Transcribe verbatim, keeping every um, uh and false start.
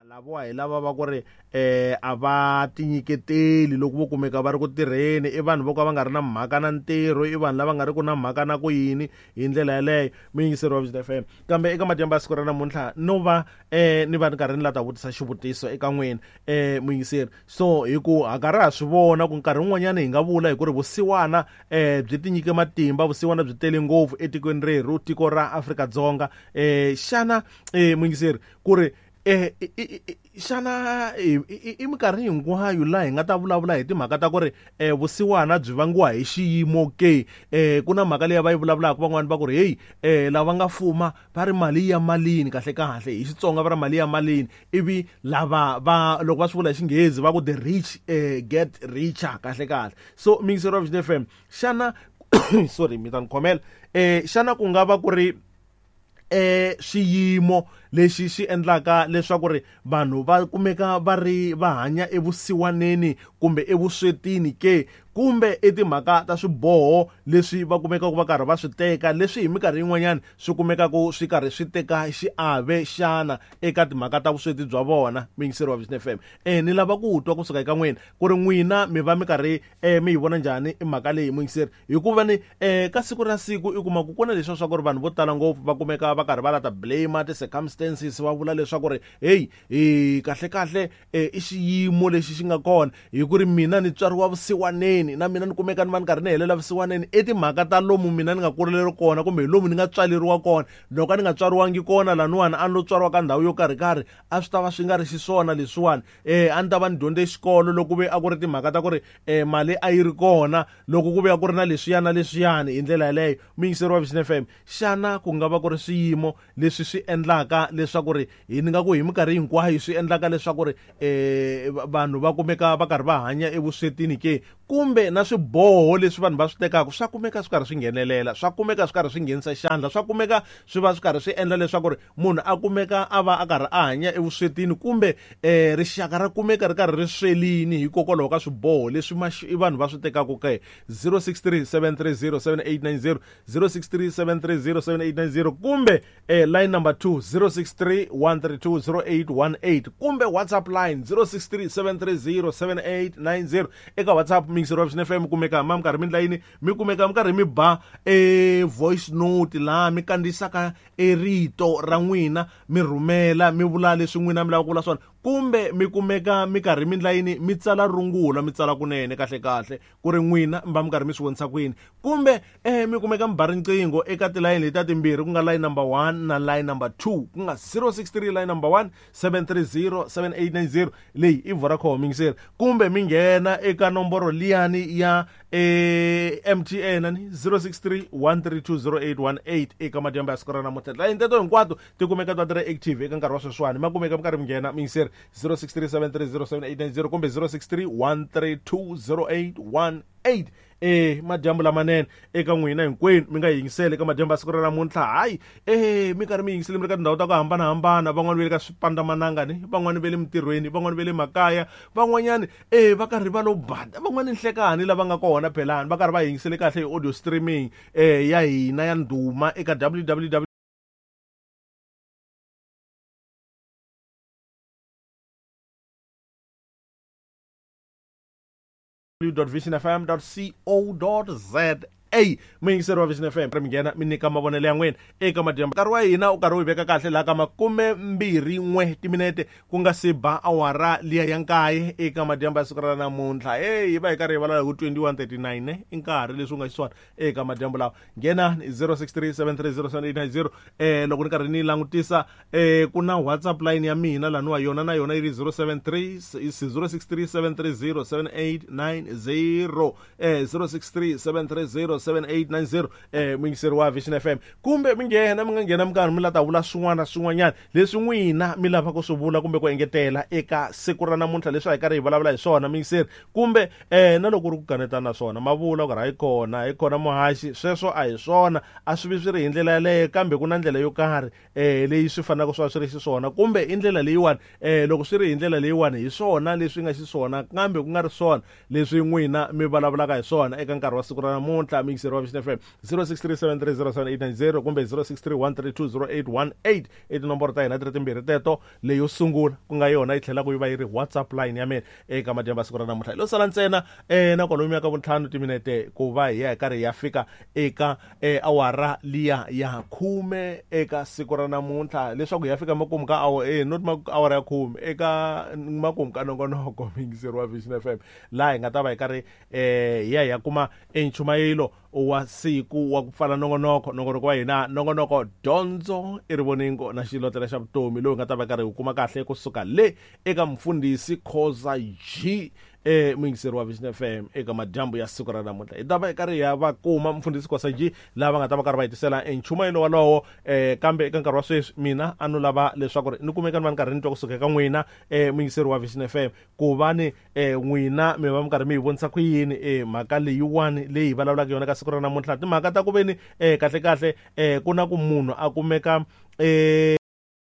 Lavawa hi lava va ku ri um a va tinyiketeli loko vo kumeka va ri ku tirheni, i vanhu vo ka va nga ri na mhaka na ntirho, i vanhu lava nga ri ku na mhaka na ku yini hi ndlela yeleyo. Muyingiseri wa Vision F M, kambe eka madyambu ya siku ra namuntlha no va um ni va ni karhi ni la ta vutisa xivutiso eka n'wina um muyingiseri. So hi ku ha karhi ha swi vona ku nkarhi wun'wanyana hi nga vula hi ku ri vusiwana um byi tinyike matimba, vusiwana byi tele ngopfu etikweni rerhu, tiko ra Afrika-Dzonga. um Xana um muyingiseri ku ri eh xana i minkarhi hinkwayo laha hi nga ta vulavula hi timhaka ta ku ri eh vusiwana byi vangiwa hi xiyimo ke? Eh ku na mhaka leyi va yi vulavulaka van'wani va ku ri hey eh lava nga fuma va ri mali ya malini, kahle kahle hi Xitsonga va ri mali ya malini, ivi lava va loko va swi vula hi Xinghezi va ku the rich eh get richer, kahle kahle. So muyingiseri wa Vision F M, xana sorry mi ta ni khomela, eh xana ku nga va ku ri eh xiyimo lexi xi endlaka leswaku ri vanhu va kumeka va ri va hanya evusiwaneni kumbe evuswetini ke, kumbe i timhaka ta swiboho leswi va kumekaka va karhi va swi teka leswi hi minkarhi yin'wanyana swi kumekaka swi karhi swi teka xiave xana eka timhaka ta vusweti bya vona? Muyingiseri wa Vision F M, eh ni lava ku twa kusuka eka n'wina ku ri n'wina mi va mi karhi eh mi yi vona njhani i mhaka leyi muyingiseri, hikuva ni eh ka siku ra siku i kuma ku ku na leswi swa ku ri vanhu vo tala ngopfu va kumeka va karhi va la ta blame ti-circumstances, va vula leswaku ri hey hi kahle kahle i xiyimo lexi xi nga kona, hi ku ri mina ni tswariwa vusiwaneni na mina ni kumeka ni va ni karhi ni helela vusiwaneni, i timhaka ta lomu mina ni nga kuleleriwa kona kumbe hi lomu ni nga tswaleriwa kona. Loko a ni nga tswariwangi kona laniwani, a ni lo tswariwa ka ndhawu yo karhi karhi, a swi ta va swi nga ri xiswona leswiwani. Eh a ni ta va ni dyondze xikolo loko ku ve a ku ri timhaka ta ku ri eh mali a yi ri kona, loko ku ve a ku ri na leswiya na leswiyani hi ndlela yeleyo. Muyingiseri wa Vision F M, xana ku nga va ku ri swiyimo leswi swi endlaka leswaku ri hi ni nga ku hi minkarhi hinkwayo swi endlaka leswaku ri eh vanhu va kumeka va karhi va hanya evuswetini ke, kumbe na swiboho leswi vanhu va swi tekaka swa kumeka swi karhi swi nghenelela, swa kumeka swi karhi swi nghenisa xandla, swa kumeka swi va swi karhi swi endla leswaku ri munhu a kumeka a va a karhi a hanya evuswetini, kumbe eh rixaka ra kumeka ri karhi ri swelini hikokwalaho ka swiboho leswi vanhu va swi tekaka ke? zero six three seven three zero seven eight nine zero, zero six three seven three zero seven eight nine zero, kumbe eh line number two zero six three one three two zero eight one eight, kumbe WhatsApp line zero six three seven three zero seven eight nine zero. Eka WhatsApp muyingiseri wa Vision F M kumeka ma minkarhi mi layini mi kumeka mi karhi mi ba e voice note laha mi kandziyisaka e rito ra n'wina mi rhumela mi vula leswi n'wina mi lavaka ku vula swona, kumbe mi kumeka mi karhi mi layini mi tsala rungula mi tsala kunene kahle kahle ku ri n'wina mi va mi karhi mi swi vonisa kwini, kumbe eh mi kumeka mi ba riqingho eka tilayini letiya timbirhi ku nga line number one na line number two, ku nga zero six three line number one seven three zero seven eight nine zero, leyi i Vodacom muyingiseri, kumbe mi nghena eka nomboro liyani ya eh M T N ni zero six three one three two zero eight one eight. Eka madyambu ya siku ra namuntlha tilayini teto hinkwato ti kumeka ta ti ri active eka nkarhi wa sweswiwani, ma kumeka mi karhi mi nghena muyingiseri zero six three seven three zero seven eight nine zero kumbe zero six three one three two zero eight one eight. Eh madyambu lamanene eka n'wina hinkwenu mi nga yingiseli eka madyambu ya siku ra namuntlha. Hayi eh mi karhi mi yingiseli mi ri ka tindhawu ta ku hambanahambana, van'wani va le ka swipandamananga ni van'wani va le mintirhweni, van'wani va le makaya, van'wanyani eh va karhi va lo bada, van'wani nhlekani lava nga kona phelani va karhi va yingisele kahle hi audio streaming eh ya hina ya ndhuma eka w w w dot vision f m dot co dot z a. Muyingiseri wa Vision F M, ri mi nghena mi nyika mavonelo ya n'wina eka madyambu. Nkarhi wa hina u karhi u yi veka kahle laha ka makume mbirhi n'we timinete ku nga se ba awara liya ya nkaye eka madyambu ya siku ra namuntlha. Hey, hi va hi karhi hi vulavula hi ku twenty-one thirty-nine i nkarhi leswi u nga xiswona eka madyambu lawa. Nghena zero six three seven three zero seven eight nine zero. Eh loko ni karhi ni langutisa eh ku na WhatsApp line ya mina laniwa yona na yona yi ri zero seven three zero six three seven three zero seven eight nine zero, eh zero six three seven three zero seven eight nine zero, eh muyingiseri wa Vision F M, kumbe mi nghena mi nga nghena mi karhi mi la ta vula swin'wana swin'wanyana leswi n'wina mi lavaka ku swi vula kumbe ku engetela eka siku ra namuntlha leswi a hi karhi hi vulavula hi swona muyingiseri, kumbe eh na loko ku ri ku kanetana swona ma vula ku ri hayi kona hi kona muhaxi, sweswo a hi swona, a swi vi swi ri hi ndlela yaleyo, kambe ku na ndlela yo karhi eh leyi swi fanelaka swi va swi ri xiswona, kumbe i ndlela leyiwani eh loko swi ri hi ndlela leyiwani hi swona leswi nga xiswona kambe ku nga ri swona leswi n'wina mi vulavulaka hi swona eka nkarhi wa siku ra namuntlha. muyingiseri wa Vision F M zero six three seven three zero seven eight nine zero kumbe zero six three one three two zero eight one eight i tinomboro ta hina ti ri timbirhi teto. Leyo sungula ku nga yona yi tlhelaka yi va yi ri WhatsApp line ya mina eka madyambu ya siku ra namuntlha. Lo sala ntsena eh na kwalomu ka vuntlhanu timinete ku va hi ya hi karhi hi ya fika eka eh, awara liya ya khume eka siku ra namuntlha, leswaku hi ya fika makumu ka awa eh not awara ya khume eka makumu ka nongonoko muyingiseri wa Vision F M, laha hi nga ta va hi karhi eh hi ya hi ya kuma enchumayelo wa siku wa ku pfala nongonoko. Nongonoko wa hina nongonoko dyondzo i rivoningo na xilotlela xa vutomi, lowu hi nga ta va karhi hi kuma kahle kusuka le eka mfundhisi Khoza G eh muyingiseri wa Vision F M eka madyambu ya siku ra namuntlha. Hi ta va hi karhi hi ya va kuma mfundhisi Khoza G lava nga ta va karhi va hetisela enchumayelo walowo. eh kambe eka nkarhi wa sweswi mina a no lava leswaku ri ni kumeka ni va ni karhi ni twa kusuka eka n'wina eh muyingiseri wa Vision F M, ku va ni eh n'wina mi va mi karhi mi hi vonisa ku yini eh mhaka leyiwani leyi hi vulavulaka yona ka siku ra namuntlha. Timhaka ta ku veni eh kahle kahle eh ku na ku munhu a kumeka eh